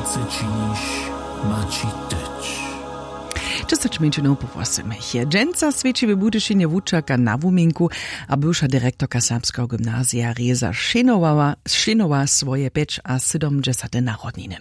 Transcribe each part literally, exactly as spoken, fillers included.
Chce činiš, maći tyć. Dźesać mjeńšinow po wosymich je dźensa swěći w Budyšinje wučerka na wuminku a bywša direktorka serbskeho gymnazija Reza Šinowa, Šinowa swoje pjećasydomdźesate narodniny.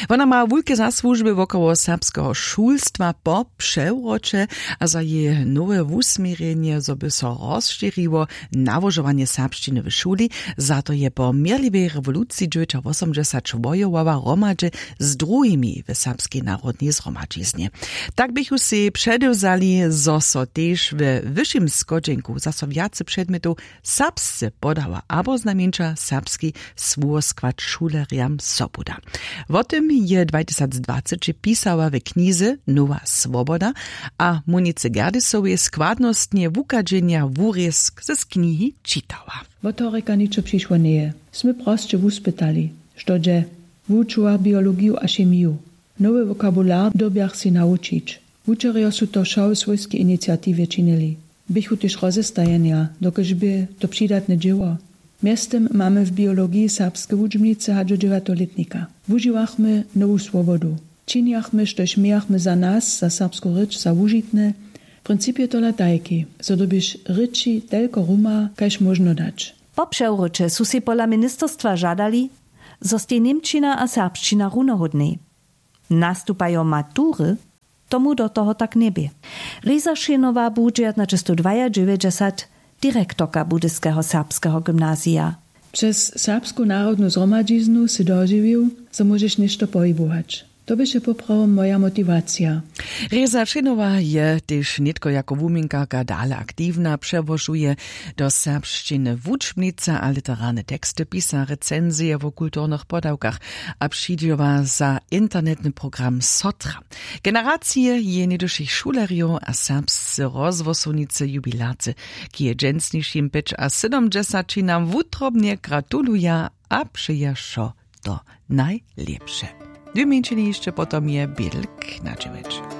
Wona ma wulke zasłužby wokoło serbskeho šulstwa po přewroće a za jeje nowe wusměrjenje, zo by so rozšěriło nałožowanje serbšćiny w šuli. Za to je po měrliwej rewoluciji dźewjećawosomdźesat wojowała hromadźe z druhimi w serbskej narodnej zhromadźiznje. Tak běchu sej předewzali, zo so tež we wyšim schodźenku zaso wjace předmjetow serbsce podała abo znajmjeńša serbski słowoskład šulerjam sobuda. Wo tym je dwatysacdwaceći pisała w knize Nowa Swoboda a Monice Gerdisowej składnostnje wuchadźenja wurězk z knihi čitała. Wotorjeka ničo přišło njeje. Smy prosće wuspytali, što dźe. Wučułach biologiju a chemiju. Nowy wokabular dyrbjach sej nawučić. Wučerjo su to wšo w swójskej iniciatiwje činili. Běchu tež rozestajenja, dokelž bě to přidatne dźěło. Mjeztym mamy w biologiji serbske wučbnice hač do dźewjatolětnika. Wužiwachmy nowu swobodu. Činjachmy, štož mějachmy za nas, za serbsku rěč, za wužitne. Princip je tola tajki, zo dyrbješ rěči telko ruma, kaž móžno dać. Po přewróće su sej pola ministerstwa žadali, zo stej němčina a serbšćina runohódnej. Nastupajo matury? Tomu do toho tak njebě. Reza Šěnowa bu dźewjatnaćestowdwajadźewjećdźesat direktorka Budyskeho serbskeho gymnazija. Přez serbsku narodnu zhromadźiznu sy dožiwił, zo móžeš něšto pohibować. To běše poprawom moja motiwacija. Reza Šěnowa je tež nětko jako wuměnkarka dale aktiwna, přełožuje do serbšćiny wučbnice a literarne teksty, pisa recenzije wo kulturnych podawkach a přidźěła za internetny program Sotra. Generacije jeje něhdyšich šulerjow a serbsce rozhłosownicy jubilarce k jeje dźensnišim pjećasydomdźesaćinam wutrobnje gratuluja a přeja wšo to najlěpše. Dwě mjeńšiny hišće potom je bědlk na dźewjeć.